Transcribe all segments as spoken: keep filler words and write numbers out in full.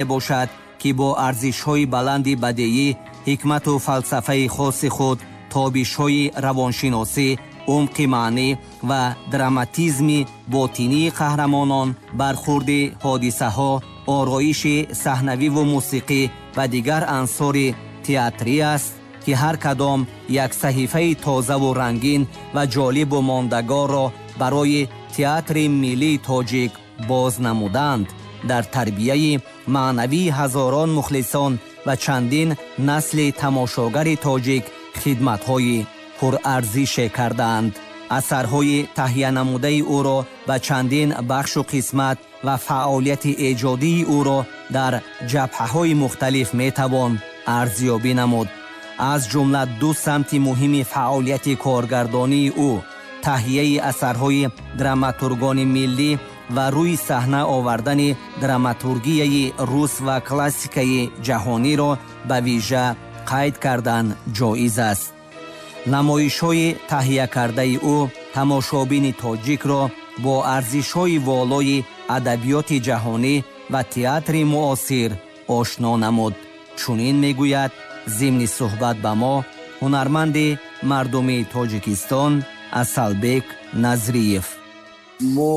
Бошад, ки бо арзишҳои баланди бадеӣ, ҳикмату фалсафаи хоси худ, тобишҳои равоншиносӣ, умқи маънӣ ва драматизми ботинии қаҳрамонон, бархурди ҳодисаҳо, ороиши саҳнавиву мусиқӣ ва дигар ансори театрӣ аст, ки ҳар кадом як саҳифаи тозаву рангин ва ҷолибу мондагорро барои театри миллии тоҷик боз намуданд, дар тарбияи маънавии ҳазорон мухлисон ва чандин насли тамошогари тоҷик хидматҳои пурарзише кардаанд. Асарҳои таҳиянамудаи ӯро ба чандин бахшу қисмат ва фаъолияти эҷодии ӯро дар ҷабҳаҳои мухталиф метавон арзёбӣ намуд. Аз ҷумла ду самти муҳими фаъолияти коргардонии ӯ таҳияи асарҳои драматургони миллӣ ва рӯи саҳна овардани драматургияи рус ва классикаи ҷаҳониро ба вижа қайд кардан ҷоиз аст. Намоишҳои таҳиякардаи ӯ тамошобини тоҷикро бо арзишҳои волои адабиёти ҷаҳонӣ ва театри муосир ошно намуд. Чунин мегӯяд зимни суҳбат ба мо ҳунарманди мардумии Тоҷикистон Асалбек Назриев. Мо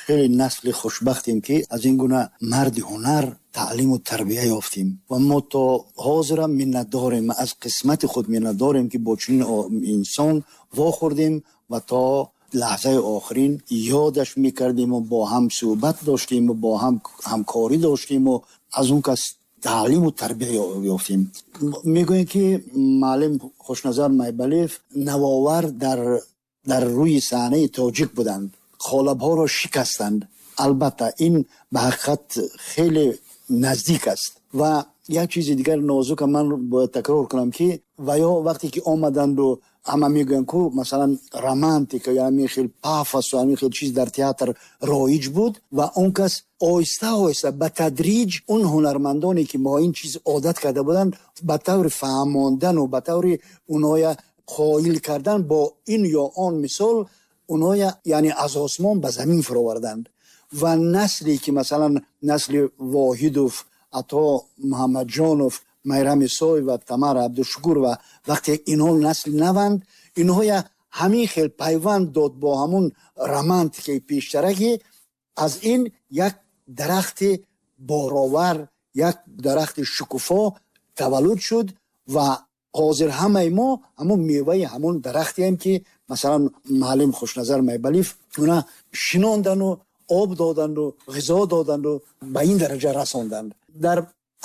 хеле насли хушбахтем, ки аз ин гуна марди ҳунар таълиму тарбия ёфтем, ва мо то ҳозирам миннатдорем, аз қисмати худ миннатдорем, ки бо чунин инсон вохӯрдем ва то лаҳзаи охирин ёдаш мекардему бо ҳам суҳбат доштему бо ҳам ҳамкорӣ доштему аз он кас таълиму тарбия ёфтем. Мегӯем, ки муаллим Хушназар Майбалиев навовар дар дар рӯи саҳнаи тоҷик буданд, қолабҳоро шикастанд. Албатта, ин ба ҳақиқат хеле наздик аст. Ва як чизи дигар нозука ман бояд такрор кунам, ки ва ё вақте ки омаданду, ҳама мегӯянд ку, масалан, романтика ё ҳамин хел пафосу ҳамин хел чиз дар театр роиҷ буд, ва он кас оҳиста оҳиста, ба тадриҷ он ҳунармандоне, ки бо ин чиз одат карда буданд, ба таври фаҳмондану ба таври онҳоя қоил кардан бо ин ё он мисол, онҳоя яъне аз осмон ба замин фуроварданд. Ва насле ки, масалан, насли Воҳидов, Ато Муҳаммадҷонов, Майрам Исоева, Тамара Абдушукурова, вақте инҳо насли наванд, инҳоя ҳамин хел пайванд дод бо ҳамун романтикаи пештара, ки аз ин як дарахти боровар, як дарахти шукуфо таваллуд шуд. Ва ҳозир ҳамаи мо ҳамун меваи ҳамун дарахтеем, ки масалан муаллим Хушназар Майбалиев уна шинондану об доданду, ғизо доданду ба ин дараҷа расонданд. Дар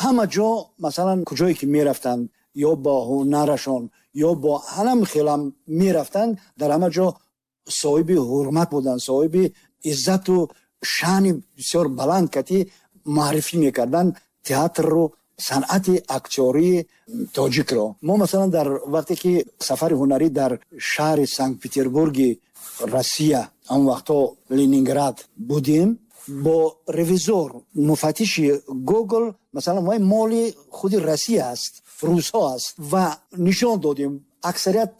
ҳама ҷо, масалан, куҷое ки мерафтанд, ё бо ҳунарашон, ё бо ҳанам хелам мерафтанд, дар ҳама ҷо соҳиби ҳурмат буданд, соҳиби иззату шаъни бисёр баланд кати муаррифӣ мекарданд театрро, санъати актёрии тоҷикро. Мо, масалан, дар вақте ки сафари ҳунарӣ дар шаҳри Санкт Петербурги Россия, он вақтҳо Ленинград, будем, бо ревизор, муфаттиши Гогол, масалан, вай моли худи Россия аст, русҳо аст, ва нишон додем. Аксарият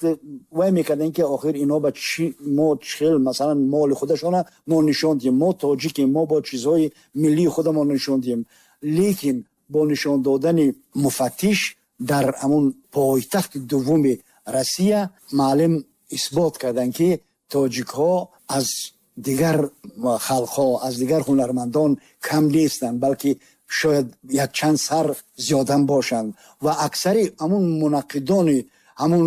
вай мекарданд, ки охир инҳо ба чи мо хел, масалан, моли худашона мо нишон диҳем, мо тоҷикем, мо бо чизҳои миллии худамон нишон диҳем. Лекин бо нишон додани муфаттиш дар ҳамун пойтахти дуввуми Россия маълим исбот карданд, ки тоҷикҳо аз дигар халқҳо, аз дигар ҳунармандон кам нестанд, балки шояд якчанд сар зиёдам бошанд. Ва аксари ҳамун мунаққидони ҳамун,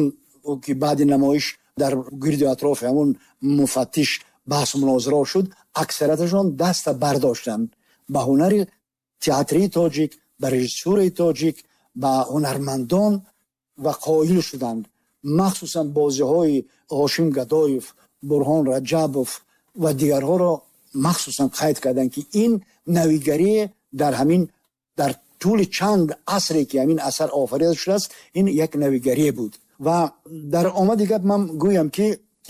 ки баъди намоиш дар гирду атрофи ҳамун муфаттиш баҳсу мунозира шуд, аксарияташон даста бардоштанд ба ҳунари театрии тоҷик, ба режиссураи тоҷик, ба ҳунармандон ва қоил шуданд. Махсусан бозиҳои Ҳошим Гадоев, Бурҳон Раҷабов ва дигарҳоро махсусан қайд карданд, ки ин навигарие дар ҳамин дар тӯли чанд асре, ки ҳамин асар офарида шудааст, ин як навигарие буд. Ва дар омади гап ман гӯям, ки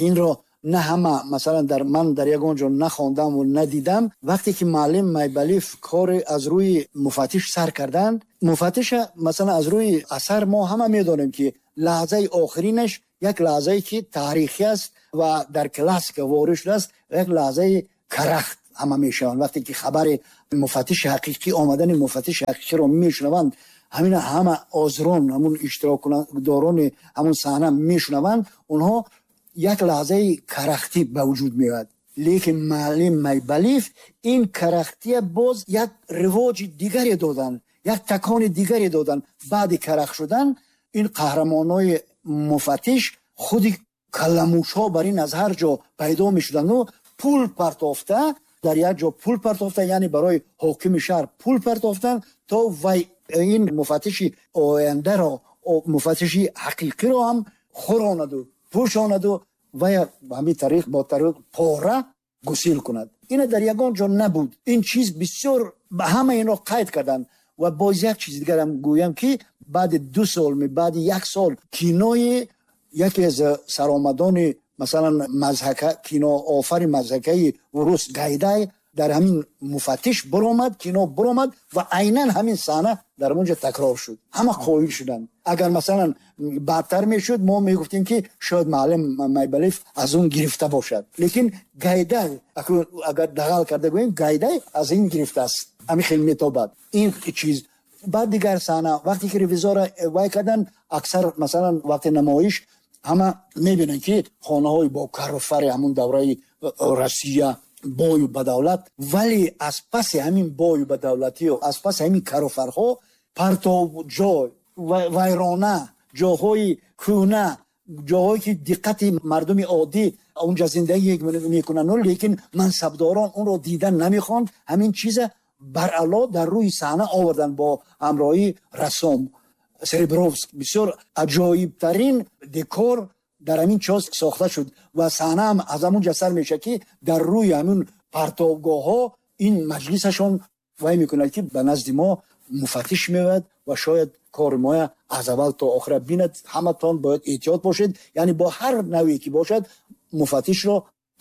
инро на ҳама, масалан, дар ман дар ягон ҷо нахондаму надидам. Вақте ки муаллим Майбалиев кори аз рӯи муфаттиш сар карданд, муфаттиша, масалан, аз рӯи асар мо ҳама медонем, ки лаҳзаи охиринаш як лаҳзае, ки таърихӣ аст ва дар классика ворид шудааст, як лаҳзаи карахт. ҳама мешаванд. Вақте ки хабари муфаттиши ҳақиқӣ омадани муфаттиши ҳақиқиро мешунаванд, ҳамин ҳама озрон, ҳамун иштирокдорони ҳамун саҳна мешунаванд, онҳо як лаҳзаи карахтӣ ба вуҷуд меояд. Лекин муаллим Майбалиев ин карахтия боз як ривоҷи дигаре доданд, як такони дигаре доданд. Баъди карах шудан ин қаҳрамонои муфаттиш худи каламушҳо бар ин аз ҳар ҷо пайдо мешуданду пул партофта, дар як ҷо пул партофта, яъне барои ҳокими шаҳр пул партофтан, то вай ин муфаттиши ояндаро, муфаттиши ҳақиқиро ҳам хӯронаду пӯшонаду вай ҳамин тариқ бо тариқ пора гусил кунад. Ина дар ягон ҷо набуд. Ин чиз бисёр ҳама инро қайд карданд. Ва боз як чиз дигарам гӯям, ки баъди ду сол, баъди як сол кинои яке аз саромадони масалан мазҳака, киноофари мазҳакаи рус Гайдай дар ҳамин муфаттиш баромад, кино баромад ва айнан ҳамин саҳна дар онҷо такрор шуд. Ҳама қоил шуданд. Агар масалан бадтар мешуд, мо мегуфтем, ки шояд муаллим Майбалиев аз он гирифта бошад. Лекин Гайдай, агар дағал карда гӯем, Гайдай аз ин гирифтааст. Ҳамин хел метобад ин чиз. Баъд дигар саҳна, вақте ки ревизора вай кардан, аксар масалан вақти намоиш ҳама мебинанд, ки хонаҳои бо кару фари ҳамун давраи Россия, бою ба давлат, вале аз паси ҳамин бою ба давлатию аз паси ҳамин каруфарҳо партов ҷой, вайрона, ҷоҳои кӯҳна, ҷоҳое ки диққати мардуми оддӣ онҷа зиндагӣ мекунанд, лекин мансабдорон онро дидан намехоҳанд. Ҳамин чиза баръало дар рӯи саҳна оварданд бо ҳамроҳии рассом Серебровск. Бисёр аҷоибтарин декор дар ҳамин чоз сохта шуд ва саҳна ҳам аз ҳамун ҷа сар мешавад, ки дар рӯи ҳамун партовгоҳҳо ин маҷлисашон вай мекунад, ки ба назди мо муфаттиш меояд ва шояд кори моя аз аввал то охира бинад, ҳаматон бояд эҳтиёт бошед. Яъне бо ҳар навъе ки бошад, муфаттишро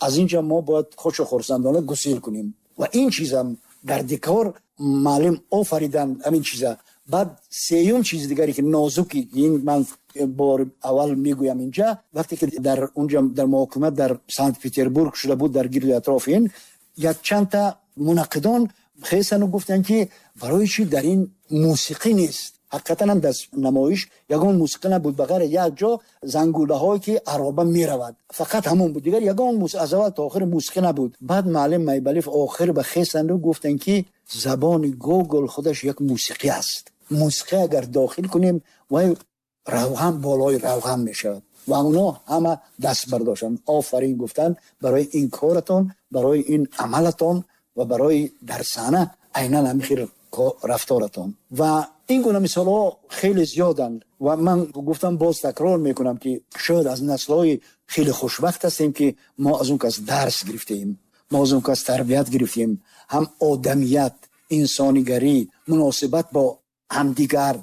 аз ин ҷа мо бояд хушу хурсандона гусил кунем. Ва ин чизам дар декор муаллим офариданд ҳамин чиза. Баъд сеюм чизи дигаре ки нозуки, ин ман бори аввал мегӯям инҷа, вақте ки дар унҷа дар муҳокима дар Санкт Петербург шуда буд, дар гирди атрофи ин якчандта мунаққидон хестану гуфтанд, ки барои чӣ дар ин мусиқӣ нест. Ҳақиқатан ҳам дар намоиш ягон мусиқӣ набуд, ба ғайр як ҷо зангулаҳое ки ароба меравад, фақат ҳамон буд, дигар ягон аз аввал то охир мусиқӣ набуд. Баъд муаллим Майбалиев охир ба хестанду гуфтанд, ки забони Гогол худаш як мусиқӣ аст. Мусиқӣ агар дохил кунем, вай равған болои равған мешавад. Ва онҳо ҳама даст бардоштанд, офарин гуфтанд барои ин коратон, барои ин амалатон ва барои дар саҳна айнан ҳамин хел рафторатон. Ва ин гуна мисолҳо хеле зиёданд. Ва ман гуфтам, боз такрор мекунам, ки шояд аз наслҳои хеле хушбахт ҳастем, ки мо аз он кас дарс гирифтаем, мо аз он кас тарбият гирифтем, ҳам одамият, инсонигарӣ, муносибат бо ҳамдигар,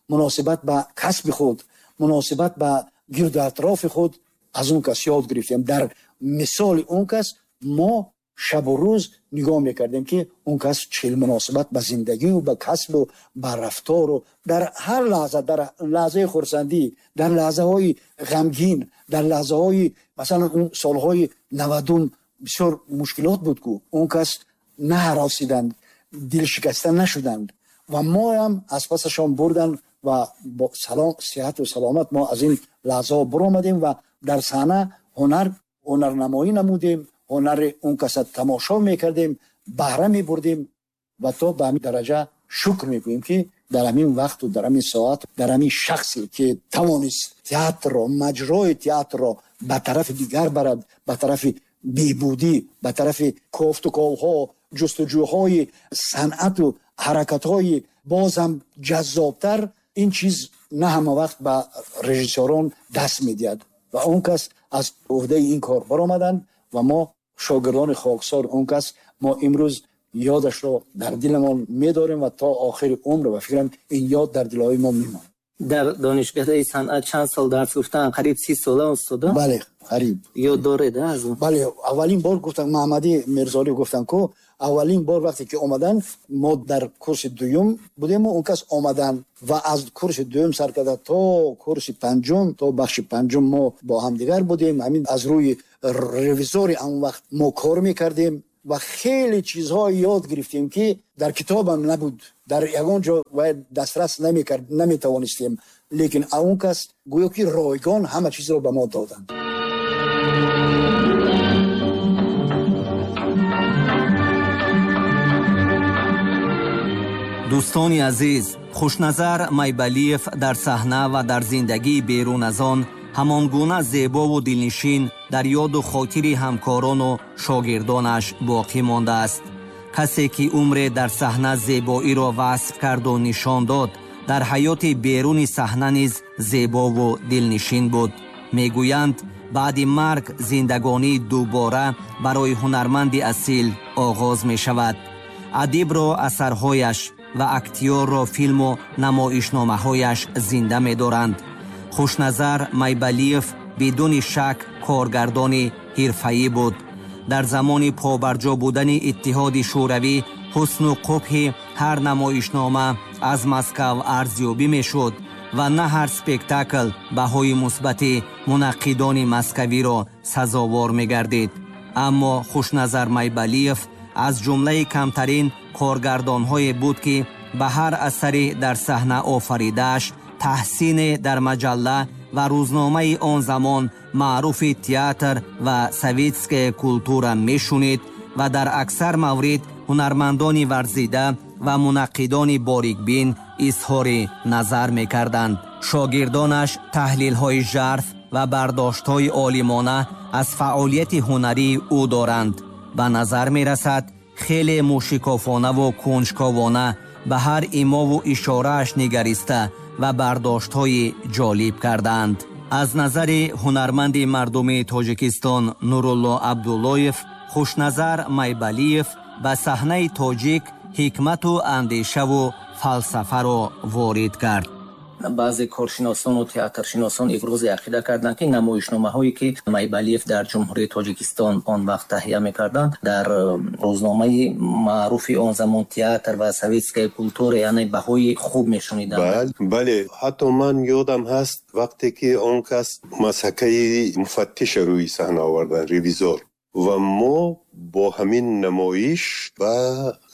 муносибат ба касби худ, муносибат ба гирду атрофи худ аз он кас ёд гирифтем. Дар мисоли он кас мо шабу рӯз нигоҳ мекардем, ки он кас чӣ муносибат ба зиндагию ба касбу ба рафтору дар ҳар лаҳза, дар лаҳзаи хурсандӣ, дар лаҳзаҳои ғамгин, дар лаҳзаҳои масалан он солҳои навадум бисёр мушкилот буд ку, он кас наҳаросиданд, дилшикаста нашуданд ва моям аз пасашон бурданд ва бо салом, сиҳату саломат мо аз ин лаҳзаҳо баромадем ва дар саҳна ҳунар ҳунарнамоӣ намудем, ҳунари он каса тамошо мекардем, баҳра мебурдем ва то ба ҳамин дараҷа шукр мекунем, ки дар ҳамин вақту дар ҳамин соат дар ҳамин шахсе ки тавонист театрро, маҷрои театрро ба тарафи дигар барад, ба тарафи беҳбудӣ, ба тарафи кофтуковҳо, ҷустуҷӯҳои санъату ҳаракатҳои бозам ҷаззобтар. Ин чиз на ҳама вақт ба режиссёрон даст медиҳад ва он кас аз ӯҳдаи ин кор баромаданд ва мо шогирдони хоксор он кас, мо имрӯз ёдашро дар диламон медорем ва то охири умр, ба фикрам, ин ёд дар дилҳои мо мемонад. Дар донишгоҳи санъат чанд сол дарс гуфтан? Қариб си сола, устодо? Бале, қариб. Ёд доред аз он? Бале, аввалин бор гуфтам, Маҳмадӣ Мирзолӣ гуфтам ку, аввалин бор вақте ки омадан, мо дар курси дуюм будему, он кас омадан ва аз курси дуюм сар карда то курси панҷум, то бахши панҷум мо бо ҳамдигар будем. Ҳамин аз рӯи ревизори он вақт мо кор мекардем. ва хеле чизҳо ёд гирифтем, ки дар китобам набуд, дар ягон ҷо дастрас намекард, наметавонистем. Лекин он кас гӯё ки ройгон ҳама чизро ба мо доданд. Дӯстони азиз, Хушназар Майбалиев дар саҳна ва дар зиндагии берун аз он ҳамон гуна зебову дилнишин дар ёду хотири ҳамкорону шогирдонаш боқӣ мондааст. Касе ки умре дар саҳна зебоиро васф карду нишон дод, дар ҳаёти беруни саҳна низ зебову дилнишин буд. Мегӯянд, баъди марг зиндагонии дубора барои ҳунарманди асил оғоз мешавад. Адибро асарҳояш ва актёрро филму намоишномаҳояш зинда медоранд. Хушназар Майбалиев бидуни шак коргардони ҳирфаӣ буд. Дар замони побарҷо будани Иттиҳоди Шӯравӣ ҳусну қубҳи ҳар намоишнома аз Москав арзёбӣ мешуд ва на ҳар спектакл баҳои мусбати мунаққидони москавиро сазовор мегардид. Аммо Хушназар Майбалиев аз ҷумлаи камтарин коргардонҳое буд, ки ба ҳар асари дар саҳна офаридааш таҳсине дар маҷалла ва рӯзномаи он замон маъруфи театр ва советская культура мешунид ва дар аксар маврид ҳунармандони варзида ва мунаққидони борикбин изҳори назар мекарданд. Шогирдонаш таҳлилҳои жарф ва бардоштҳои олимона аз фаъолияти ҳунарии ӯ доранд. Ба назар мерасад, хеле мушикофонаву кунҷковона ба ҳар имову ишорааш нигариста ва бардоштҳои ҷолиб кардаанд. Аз назари ҳунарманди мардумии Тоҷикистон Нурулло Абдуллоев, Хушназар Майбалиев ба саҳнаи тоҷик ҳикмату андешаву фалсафаро ворид кард. Баъзе коршиносону театршиносон ибрози ақида карданд, ки намоишномаҳое ки Майбалиев дар Ҷумҳурии Тоҷикистон он вақт таҳия мекарданд, дар рӯзномаи маъруфи он замон театр ва советская культура, яъне баҳои хуб мешуниданд. Бале, ҳатто ман ёдам ҳаст вақте ки он кас масакаи муфаттиша рӯи саҳна оварданд, ревизор, ва мо бо ҳамин намоиш ба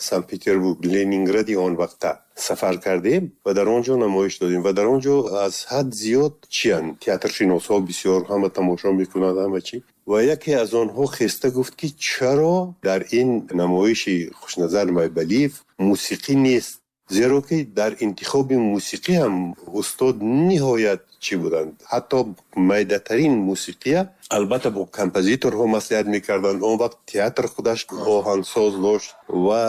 Санкт-Петербург, Ленингради он вақта сафар кардем ва дар он ҷо намоиш додем ва дар он ҷо аз ҳад зиёд чиянд театршиносҳо бисёр ҳама тамошо мекунанд, ҳама чӣ. Ва яке аз онҳо хеста гуфт, ки чаро дар ин намоиши Хушназар Майбалиев мусиқӣ нест, зеро ки дар интихоби мусиқӣ ҳам устод ниҳоят чӣ буданд. Ҳатто майдатарин мусиқия албатта бо композиторҳо маслиҳат мекарданд. Он вақт театр худаш оҳангсоз дошт ва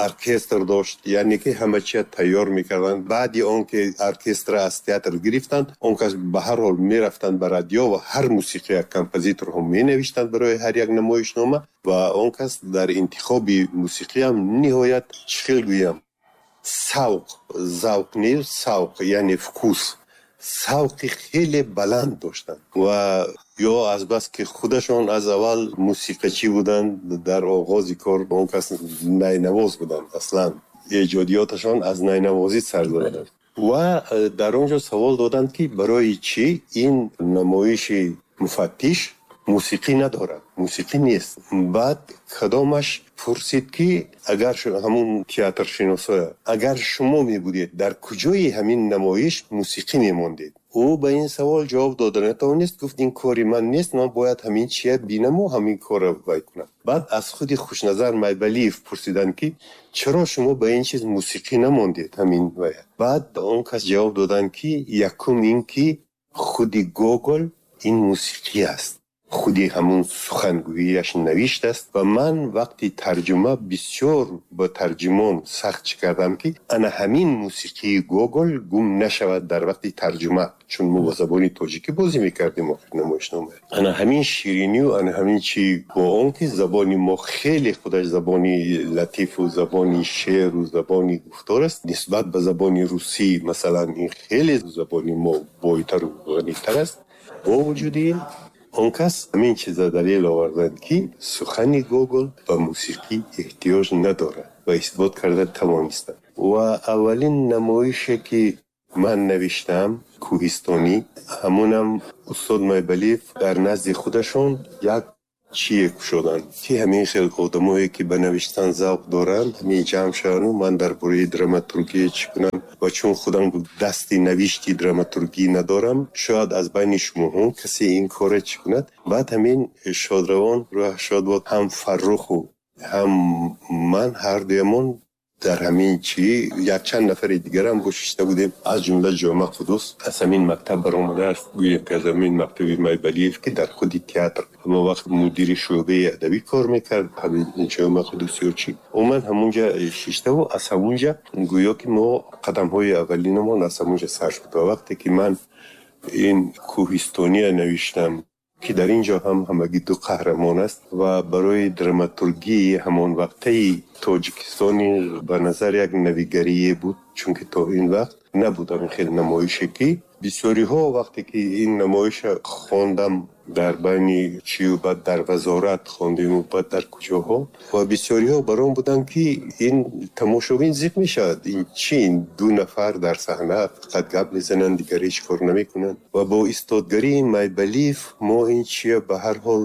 оркестр дошт, яъне ки ҳама чия тайёр мекарданд. Баъди он ки оркестра аз театр гирифтанд, он кас ба ҳар ҳол мерафтанд ба радио ва ҳар мусиқия композиторҳо менавиштанд барои ҳар як намоишнома ва он кас дар интихоби мусиқиям ниҳоят чӣ хел гӯям, савқ, завқ не, савқ яъне вкус, савқи хеле баланд доштанд. Ва ё азбаски худашон аз аввал мусиқачӣ буданд, дар оғози кор он кас найнавоз буданд, аслан эҷодиёташон аз найнавозӣ сар заданд. Ва дар он ҷо савол доданд, ки барои чӣ ин намоиши муфаттиш мусиқӣ надорад, мусиқӣ нест. Баъд кадомаш пурсид, ки агар ҳамун театршиносоя, агар шумо мебудед, дар куҷои ҳамин намоиш мусиқӣ мемондед? Ӯ ба ин савол ҷавоб дода натавонист, гуфт ин кори ман нест, ман бояд ҳамин чия бинаму ҳамин корро вай кунам. Баъд аз худи Хушназар Майбалиев пурсиданд, ки чаро шумо ба ин чиз мусиқӣ намондед ҳамин вай? Баъд он кас ҷавоб доданд, ки якум ин ки худи Гогол ин мусиқӣ аст, худи ҳамун сухангӯияш навишт аст ва ман вақти тарҷума бисёр ба тарҷумон сахт чӣ кардам, ки ана ҳамин мусиқии Гогол гум нашавад дар вақти тарҷума, чун мо ба забони тоҷикӣ бозӣ мекардем охир намоишнома. Ана ҳамин ширинию ана ҳамин чӣ бо он ки забони мо хеле худаш забони латифу забони шеъру забони гуфтор аст, нисбат ба забони русӣ масалан ин хеле забони мо бойтару ғанитар аст. Бо вуҷуди ин он кас ҳамин чиза далел оварданд, ки сухани Гогол ба мусиқӣ эҳтиёҷ надорад ва исбот карда тавонистанд. Ва аввалин намоише ки ман навиштам кӯҳистонӣ, ҳамонам устод Майбалиев дар назди худашон як чие кушоданд, ки ҳамин хел одамое ки ба навиштан завқ доранд, ҳамин ҷамъ шаванд, ман дар бораи драматургия чӣ кунам, ва чун худам дасти навишти драматургӣ надорам, шояд аз байни шумоҳо касе ин корро чӣ кунад. Баъд ҳамин шодравон рӯҳ шод бод, ҳам Фарруху ҳам ман ҳардуямон дар ҳамин чӣ якчанд нафари дигарам бо шишта будем, аз ҷумла Ҷома Қудус аз ҳамин мактаб баромадааст, гӯем ки аз ҳамин мактаби Майбалиев, ки дар худи театр ҳамон вақт мудири шӯъбаи адабӣ кор мекард, ҳамин Ҷома Қудус ё чӣ омад ҳамунҷа шиштаву аз ҳамунҷа гӯё ки мо қадамҳои аввалинамон аз ҳамунҷа сар шуд. Ва вақте ки ман ин кӯҳистония навиштам, ки дар ин ҷо ҳам ҳамагӣ ду қаҳрамон аст ва барои драматургии ҳамон вақтаи Тоҷикистони ба назар як навигарие буд, чунки то ин вақт набуд ҳамин хел намоише, ки бисёриҳо вақте ки ин намоиша хондам дар байни чию баъд дар вазорат хондему баъд дар куҷоҳо, ва бисёриҳо бар он буданд, ки ин тамошобин зиқ мешавад, ин чи, ин ду нафар дар саҳна фақат гап мезананд, дигар ҳеҷ кор намекунанд. Ва бо истодгарии Майбалиев мо ин чия ба ҳар ҳол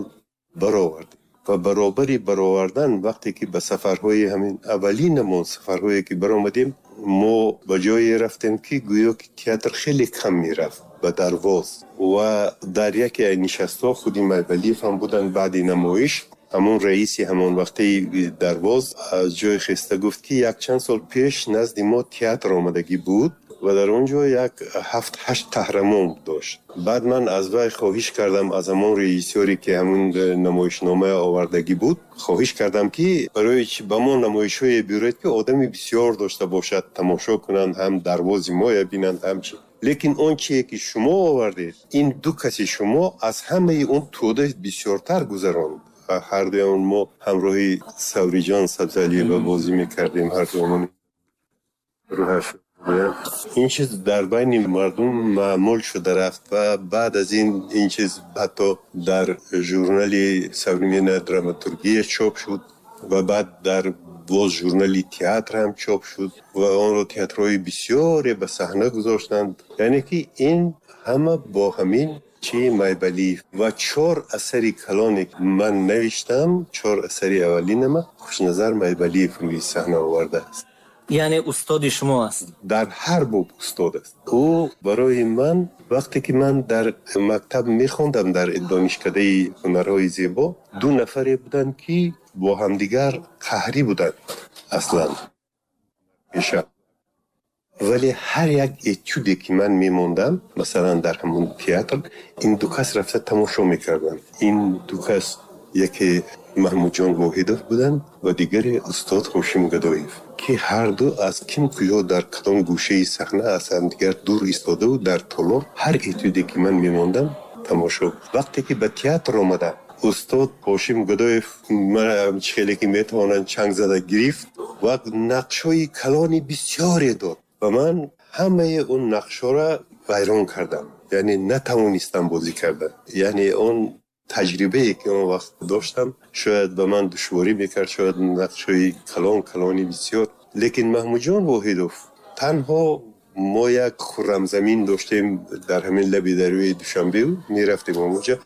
баровардем. Ва баробари баровардан, вақте ки ба сафарҳои ҳамин аввалинамон сафарҳое ки баромадем, мо ба ҷое рафтем, ки гӯё ки театр хеле кам мерафт, ба Дарвоз, ва дар яке аз нишастҳо худи Майбалиев ҳам буданд. Баъди намоиш ҳамон раиси ҳамон вақтаи Дарвоз аз ҷои хеста гуфт, ки якчанд сол пеш назди мо театр омадагӣ буд ва дар он ҷо як ҳафт ҳашт қаҳрамон дошт. Баъд ман аз вай хоҳиш кардам, аз ҳамон режиссёре ки ҳамон намоишнома овардагӣ буд, хоҳиш кардам, ки барои чи ба мо намоишҳое биёред, ки одами бисёр дошта бошад, тамошо кунанд, ҳам Дарвози моя бинанд, ҳам чи. Лекин он чие ки шумо овардед, ин ду каси шумо аз ҳамаи он тӯда бисёртар гузаронд. Ҳардуямон мо ҳамроҳи Савриҷон Сабзалиева бозӣ мекардем, ҳардуямон, рӯҳаш. Ин чиз дар байни мардум маъмул шуда рафт ва баъд аз ин ин чиз ҳатто дар журнали «Современная драматургия» чоп шуд ва баъд дар боз журнали театр ҳам чоп шуд ва онро театрҳои бисёре ба саҳна гузоштанд. Яъне ки ин ҳама бо ҳамин чи Майбалиев ва чор асари калоне ки ман навиштам, чор асари аввалинама Хушназар Майбалиев рӯи саҳна овардааст. Яъне устоди шумо аст. Дар ҳар боб устод аст ӯ барои ман. Вақте ки ман дар мактаб мехондам, дар донишкадаи ҳунарҳои зебо, ду нафаре буданд, ки бо ҳамдигар қаҳрӣ буданд аслан пеша, вале ҳар як этюде ки ман мемондам, масалан дар ҳамон театр, ин ду кас рафта тамошо мекарданд. Ин ду кас яке Маҳмудҷон Воҳидов буданд ва дигаре устод Ҳошим Гадоев, ки ҳарду аз ким куҷо дар кадом гӯшаи саҳна аз ҳамдигар дур истодаву дар толор ҳар этюде ки ман мемондам тамошо. Вақте ки ба театр омадам, устод Ҳошим Гадоев мана чӣ хеле ки метавонанд чанг зада гирифт ва нақшҳои калони бисёре дод ва ман ҳамаи он нақшҳоро вайрон кардам, яъне натавонистам бозӣ кардан. Яъне он таҷрибае ки он вақт доштам, шояд ба ман душворӣ мекард, шояд нақшҳои калон калони бисёр. Лекин Маҳмудҷон Воҳидов танҳо мо як хуррамзамин доштем дар ҳамин лаби дарёи Душанбе, мерафтем ҳамонҷа,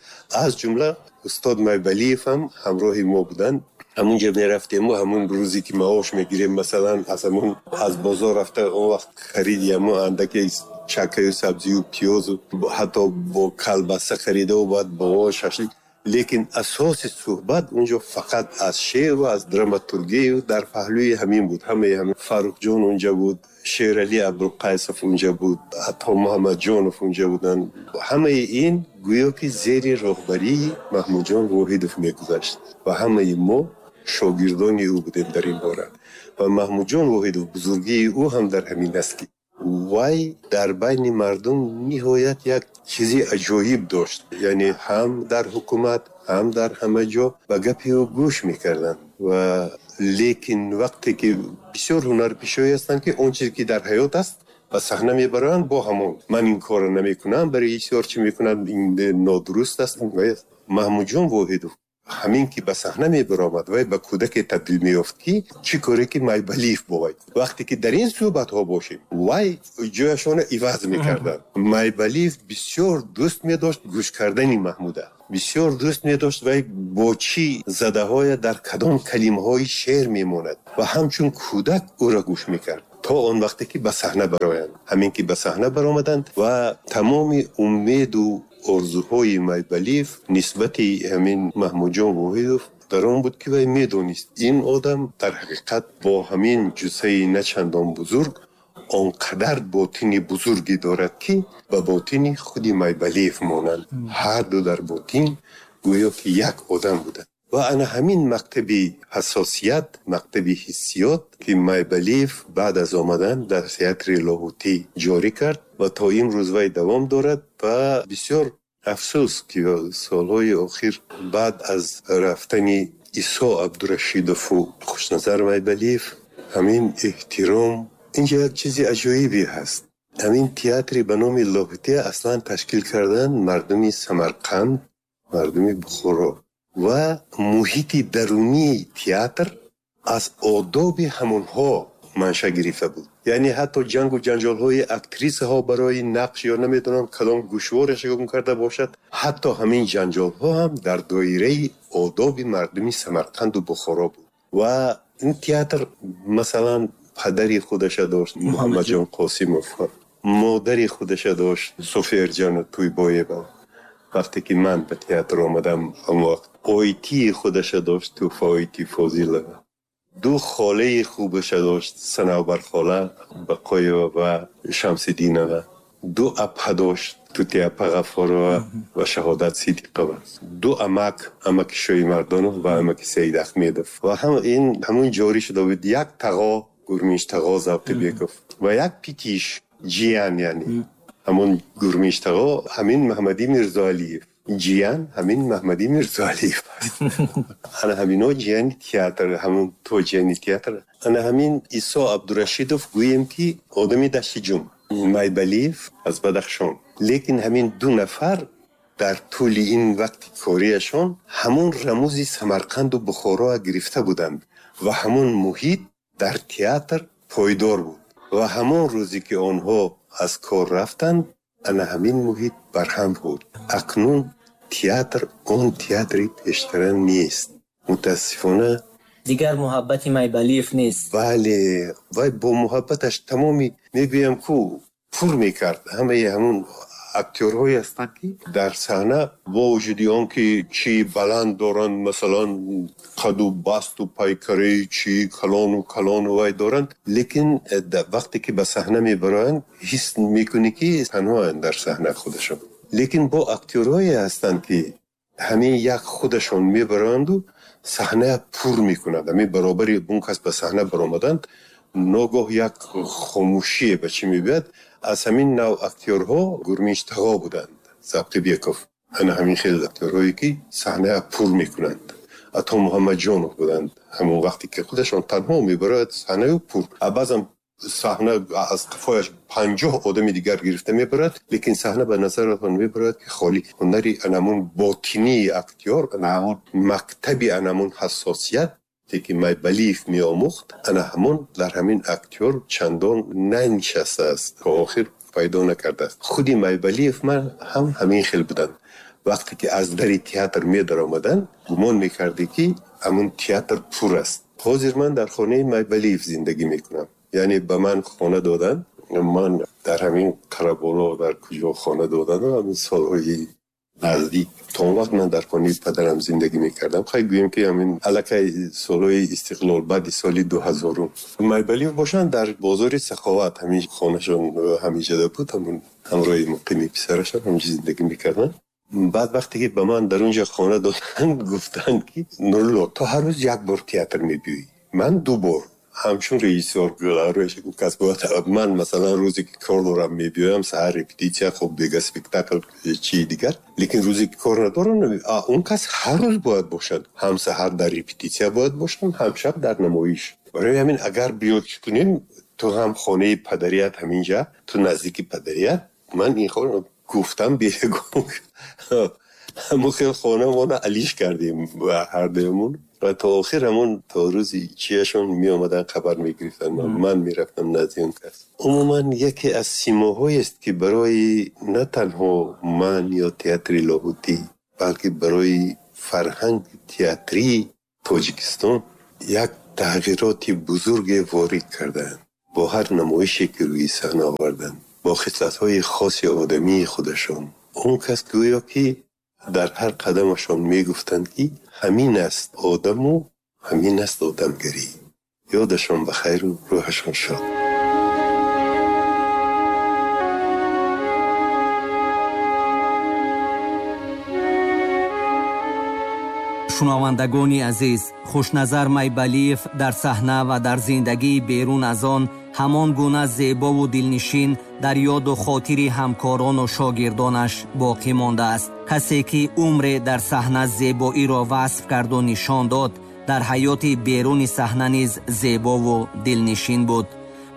аз ҷумла устод Майбалиев ҳам ҳамроҳи мо буданд. Ҳамунҷа мерафтему ҳамун рӯзе ки маош мегирем, масалан, аз ҳамун аз бозор рафта, он вақт хариди ҳамун андаке чакаю сабзию пиёзу ҳатто бо калбаса харидаву баъд бо шашлик. Лекин асоси суҳбат унҷо фақат аз шеъру аз драматургию дар паҳлӯи ҳамин буд. Ҳамаи ҳамин Фаррухҷон унҷа буд, Шералӣ Абдулқайсов унҷа буд, ҳатто Муҳаммадҷонов унҷа буданд. Ҳамаи ин гӯё ки зери роҳбарии Маҳмудҷон Воҳидов мегузашт ва ҳамаи мо шогирдони ӯ будем дар ин бора. Ва Маҳмудҷон Воҳидов, бузургии ӯ ҳам дар ҳамин аст, ки вай дар байни мардум ниҳоят як чизи аҷоиб дошт, яъне ҳам дар ҳукумат, ҳам дар ҳама ҷо ба гапи ӯ гӯш мекарданд. Ва лекин вақте ки бисёр ҳунарпешое ҳастанд, ки он чизе ки дар ҳаёт аст ба саҳна мебаранд, бо ҳамон ман ин корро намекунам, барои бисёр чӣ мекунам, ин нодуруст аст. Маҳмудҷон Воҳидов ҳамин ки ба саҳна мебаромад, вай ба кӯдаке табдил меёфт, ки чӣ коре ки Майбалиев бо вай. Вақте ки дар ин суҳбатҳо бошем, вай ҷояшонро иваз мекарданд. Майбалиев бисёр дӯст медошт гӯш кардани Маҳмуда. Бисёр дӯст медошт вай бо чӣ задаҳоя дар кадом калимаҳои шеър мемонад ва ҳамчун кӯдак ӯро гӯш мекард то он вақте ки ба саҳна бароянд. Ҳамин ки ба саҳна баромаданд ва тамоми умеду орзуҳои Майбалиев нисбати ҳамин Маҳмудҷон Воҳидов дар он буд, ки вай медонист ин одам дар ҳақиқат бо ҳамин ҷуссаи начандон бузург он қадар ботини бузурге дорад, ки ба ботини худи Майбалиев монанд. Ҳар ду дар ботин гӯё ки як одам буданд. Ва ана ҳамин мактаби ҳассосият, мактаби ҳиссиёт, ки Майбалиев баъд аз омадан дар театри Лоҳутӣ ҷорӣ кард ва то имрӯз вай давом дорад. Ва бисёр афсӯс, ки солҳои охир баъд аз рафтани Исо Абдурашидову Хушназар Майбалиев ҳамин эҳтиром, инҷа як чизи аҷоибе ҳаст. Ҳамин театри ба номи Лоҳутӣ аслан ташкил кардан мардуми Самарқанд, мардуми Бухоро ва муҳити дарунии театр аз одоби ҳамонҳо манша гирифта буд. Яъне ҳатто ҷангу ҷанҷолҳои актрисаҳо барои нақш ё намедонам кадом гӯшвораш гум карда бошад, ҳатто ҳамин ҷанҷолҳо ҳам дар доираи одоби мардуми Самарқанду Бухоро буд. Ва ин театр масалан падари худаша дошт Муҳаммадҷон Қосимов, модари худаша дошт Софиярҷон Тӯйбоева. Вақте ки ман ба театр омадам, он вақт ойтии худаша дошт Туҳфа Ойти Фозилова, ду холаи хубаша дошт Санавбар хола Бақоева ва Шамсиддинова, ду апа дошт Тути апа Ғаффорова ва Шаҳодат Сидиқова, ду амак, амаки Шоимардонов ва амаки Саид Ахмедов. Ва ҳам ин ҳамун ҷорӣ шуда буд як тағо Гурминш тағо Завқибеков ва як питиш ҷиян, яъне ҳамон Гурминш тағо ҳамин Маҳмадӣ Мирзоалиев, ҷиян ҳамин Маҳмадӣ Мирзоалиев аст. Ана ҳамино ҷияни театр, ҳамон то ҷияни театр. Ана ҳамин Исо Абдурашидов гӯем ки одами Дашти Ҷум, Майбалиев аз Бадахшон. Лекин ҳамин ду нафар дар тӯли ин вақти кориашон ҳамон рамузи Самарқанду Бухороа гирифта буданд ва ҳамон муҳит дар театр пойдор буд. Ва ҳамон рӯзе ки онҳо аз кор рафтанд, ана ҳамин муҳит барҳам буд. Акнун театр он театри пештара нест. Мутаассифона дигар муҳаббати Майбалиев нест. Бале, вай бо муҳаббаташ тамоми мегӯям ку пур мекард. Ҳамаи ҳамон актёрҳое ҳастанд, ки дар саҳна бо вуҷуди он ки чӣ баланд доранд, масалан қаду басту пайкараи чӣ калону калону вай доранд, лекин вақте ки ба саҳна мебароянд, ҳис мекунӣ ки танҳоянд дар саҳна худашон. Лекин бо актёрҳое ҳастанд, ки ҳамин як худашон мебароянду саҳна пур мекунанд. Ҳамин баробари он кас ба саҳна баромаданд, ногоҳ як хомӯшие ба чӣ мебиёяд. Аз ҳамин нав актёрҳо Гурминш тағо буданд, Завқибеков. Ана ҳамин хел актёрҳое ки саҳна пур мекунанд. Ато Муҳаммадҷонов буданд, ҳамон вақте ки худашон танҳо мебарояд саҳнаю пур. Баъзан саҳна аз қафояш панҷоҳ одами дигар гирифта мебарад, лекин саҳна ба назаратон мебарояд ки холӣ. Ҳунари анамун ботинии актёр, анамун мактаби анамун ҳассосият ки Майбалиев меомӯхт, ана ҳамон дар ҳамин актёр чандон нанишастааст, то охир пайдо накардааст. Худи Майбалиев ман ҳам ҳамин хел буданд. Вақте ки аз дари театр медаромаданд, гумон мекардӣ ки ҳамун театр пур аст. Ҳозир ман дар хонаи Майбалиев зиндагӣ мекунам. Яъне ба ман хона доданд. Ман дар ҳамин Қараболо дар куҷо хона доданд, ҳамин солҳои наздик. То он вақт ман дар хонаи падарам зиндагӣ мекардам. Хай гӯем ки ҳамин аллакай солҳои истиқлол баъди соли ду ҳазорум. Майбалиев бошанд дар бозори Саховат, ҳамин хонашон ҳаминҷода буд, ҳамун ҳамроҳи муқими писарашон ҳаминҷо зиндагӣ мекарданд. Баъд вақте ки ба ман дар унҷо хона доданд, гуфтанд ки Нурулло, ту ҳар рӯз як бор театр мебиёӣ, ман ду бор. Ҳамчун режиссёр кас бояд ман масалан рӯзе ки кор дорам мебиёям, саҳар репетитсия, хуб дига спектакл чии дигар, лекин рӯзе ки кор надорам, он кас ҳар рӯз бояд бошад, ҳам саҳар дар репетитсия бояд бошад, ҳам шаб дар намоиш. Барои ҳамин агар биёд чӣ кунем, ту ҳам хонаи падарият ҳаминҷа, ту наздики падарият, ман ин хона гуфтам бегум. Ҳамон хел хонамона алиш кардем ҳардуямон ва то охир ҳамон то рӯзи чияшон меомаданд, хабар мегирифтанд, ман мерафтам назди он кас. Умуман яке аз симоҳоест ки барои на танҳо ман ё театри Лоҳутӣ, балки барои фарҳанги театрии Тоҷикистон як тағйироти бузурге ворид карданд. Бо ҳар намоише ки рӯи саҳна оварданд, бо хислатҳои хоси одамии худашон, он кас гӯё ки дар ҳар қадамашон мегуфтанд ки ҳамин аст одаму ҳамин аст одамгарӣ. Ёдашон ба хайру рӯҳашон шод. Шунавандагони азиз, Хушназар Майбалиев дар саҳна ва дар зиндагии берун аз он ҳамон гуна зебову дилнишин дар ёду хотири ҳамкорону шогирдонаш боқӣ мондааст. Касе ки умре дар саҳна зебоиро васф карду нишон дод, дар ҳаёти беруни саҳна низ зебову дилнишин буд.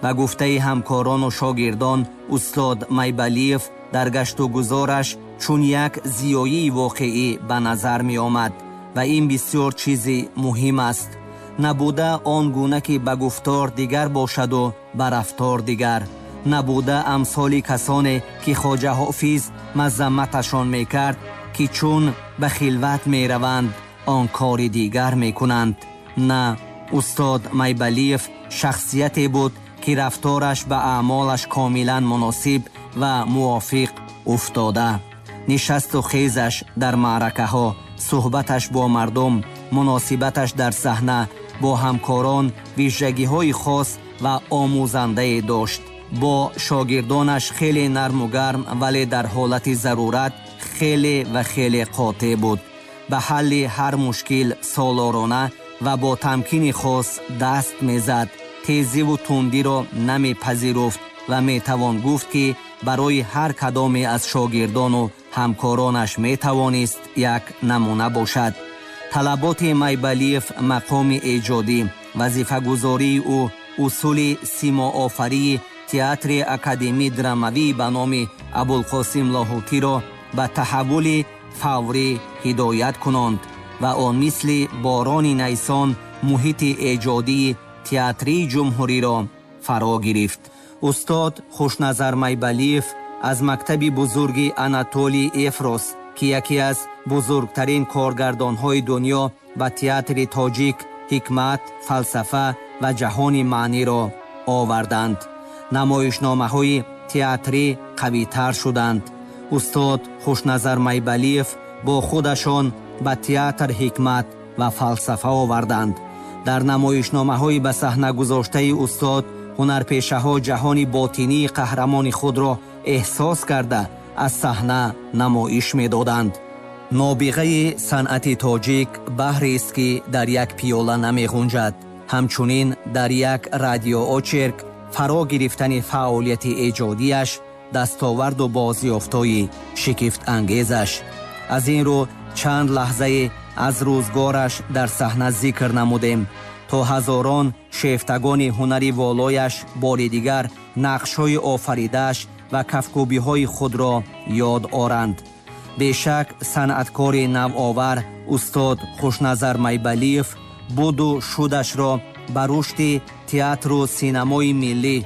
Ба гуфтаи ҳамкорону шогирдон, устод Майбалиев дар гашту гузораш чун як зиёии воқеӣ ба назар меомад ва ин бисёр чизи муҳим аст. Набуда он гуна ки ба гуфтор дигар бошаду ба рафтор дигар. Набуда амсоли касоне ки Хоҷа Ҳофиз мазамматашон мекард, ки чун ба хилват мераванд, он кори дигар мекунанд. На, устод Майбалиев шахсияте буд ки рафтораш ба аъмолаш комилан муносиб ва мувофиқ уфтода. Нишасту хезаш дар маъракаҳо, суҳбаташ бо мардум, муносибаташ дар саҳна бо ҳамкорон вижагиҳои хос ва омӯзандае дошт. Бо шогирдонаш хеле нарму гарм, вале дар ҳолати зарурат хеле ва хеле қотеъ буд. Ба ҳалли ҳар мушкил солорона ва бо тамкини хос даст мезад. Тезиву тундиро намепазируфт ва метавон гуфт ки барои ҳар кадоме аз шогирдону ҳамкоронаш метавонист як намуна бошад. Талаботи Майбалиев мақоми эҷодӣ, вазифагузории ӯ, усули симоофарии театри академии драмавӣ ба номи Абулқосим Лоҳутиро ба таҳаввули фаврӣ ҳидоят кунонд ва он мисли борони найсон муҳити эҷодии театрии ҷумҳуриро фаро гирифт. Устод Хушназар Майбалиев аз мактаби бузурги Анатолий Эфрос, ки яке аз бузургтарин коргардонҳои дунё ба театри тоҷик ҳикмат, фалсафа ва ҷаҳони маъниро оварданд. Намоишномаҳои театрӣ қавитар шуданд. Устод Хушназар Майбалиев бо худашон ба театр ҳикмат ва фалсафа оварданд. Дар намоишномаҳои ба саҳна гузоштаи устод ҳунарпешаҳо ҷаҳони ботинии қаҳрамони худро эҳсос карда аз саҳна намоиш медоданд. Нобиғаи санъати тоҷик баҳрест ки дар як пиёла намеғунҷад. Ҳамчунин дар як радиоочерк фаро гирифтани фаъолияти эҷодиаш дастоварду бозёфтҳои шигифтангезаш. Аз ин рӯ чанд лаҳзае аз рӯзгораш дар саҳна зикр намудем, то ҳазорон шефтагони ҳунари волояш бори дигар нақшҳои офаридааш ва кафкӯбиҳои худро ёд оранд. Бешак санъаткори навовар устод Хушназар Майбалиев буду шудашро ба рушди театру синамои миллӣ,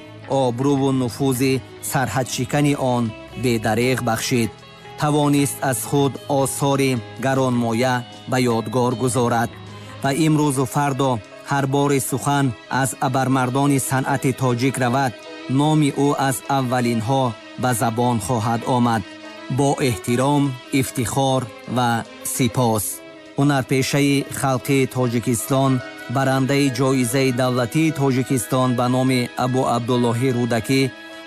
обрӯву нуфузи сарҳадшикани он бедареғ бахшид. Тавонист аз худ осори гаронмоя ба ёдгор гузорад ва имрӯзу фардо ҳар бори сухан аз абармардони санъати тоҷик равад, номи ӯ аз аввалинҳо ба забон хоҳад омад. Бо эҳтиром, ифтихор ва сипос. Ҳунарпешаи халқи Тоҷикистон, барандаи ҷоизаи давлатии Тоҷикистон ба номи Абу Абдуллоҳи Рӯдакӣ,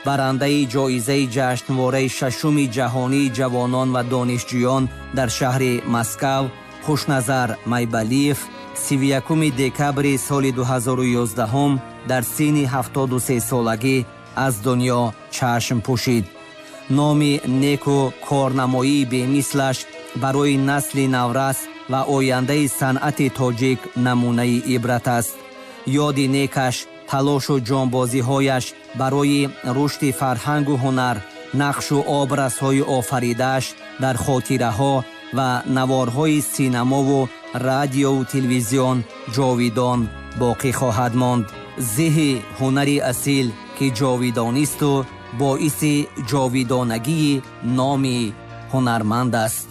барандаи ҷоизаи ҷашнвораи шашуми ҷаҳонии ҷавонон ва донишҷӯён дар шаҳри Москав, Хушназар Майбалиев, сиву якуми декабри соли ду ҳазору ёздаҳум дар синни ҳафтоду се солагӣ аз дунё чашм пӯшид. Номи неку корнамоии бемислаш барои насли наврас ва ояндаи санъати тоҷик намунаи ибрат аст. Ёди некаш, талошу ҷонбозиҳояш барои рушди фарҳангу ҳунар, нақшу образҳои офаридааш дар хотираҳо ва наворҳои синамову радиову телевизион ҷовидон боқӣ хоҳад монд. Зиҳи ҳунари асил ки ҷовидонисту боиси ҷовидонагии номи ҳунарманд аст.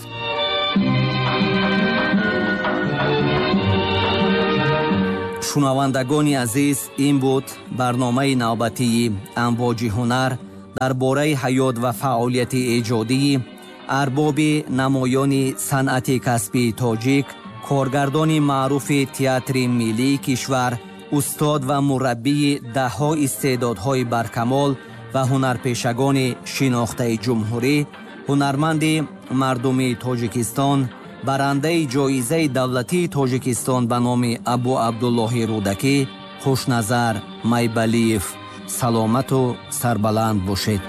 Шунавандагони азиз, ин буд барномаи навбатии Амвоҷи ҳунар дар бораи ҳаёт ва фаъолияти эҷодии арбоби намоёни санъати касбии тоҷик, коргардони маъруфи театри миллии кишвар, устод ва мураббии даҳҳо истеъдодҳои баркамол ва ҳунарпешагони шинохтаи ҷумҳурӣ, ҳунарманди мардумии Тоҷикистон, барандаи ҷоизаи давлатии Тоҷикистон ба номи Абу Абдуллоҳи Рӯдакӣ, Хушназар Майбалиев. Саломату сарбаланд бошед.